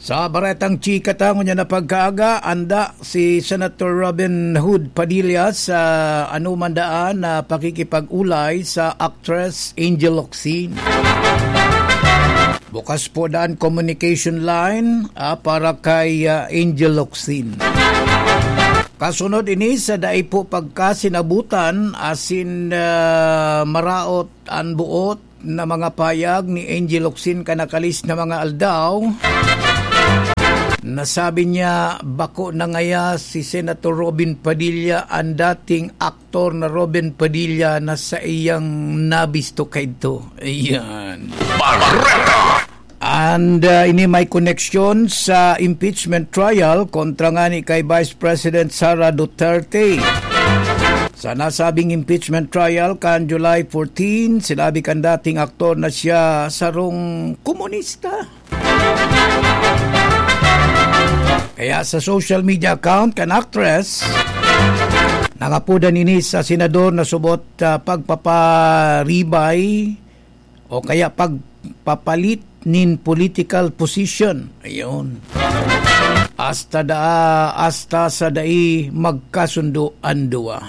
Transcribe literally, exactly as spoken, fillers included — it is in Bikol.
Sa baretang chika ta ngunyan na pagkaaga, anda si Senator Robin Hood Padilla sa anuman daan na pakikipag-ulay sa actress Angel Locsin. Bukas po daan communication line, ah, para kay, ah, Angel Locsin. Kasunod ini sa dai po pagkasinabutan asin, ah, maraot an boot na mga payag ni Angel Locsin kanakalis na mga aldaw, nasabi niya bako na ngaya si Senator Robin Padilla, ang dating aktor na Robin Padilla na sa iyang nabisto kaidto. Ayan. Bareta! And, uh, ini may koneksyon sa impeachment trial kontra ngani kay Vice President Sara Duterte. Sa nasabing impeachment trial kan July fourteen, sinabi kan dating aktor na siya sarong komunista. Kaya sa social media account kan actress, nangapodan ini sa senador na subot, ah, pagpaparibay o kaya pagpapalit nin political position. Ayun. Hasta da, hasta sa dai magkasundo an duwa.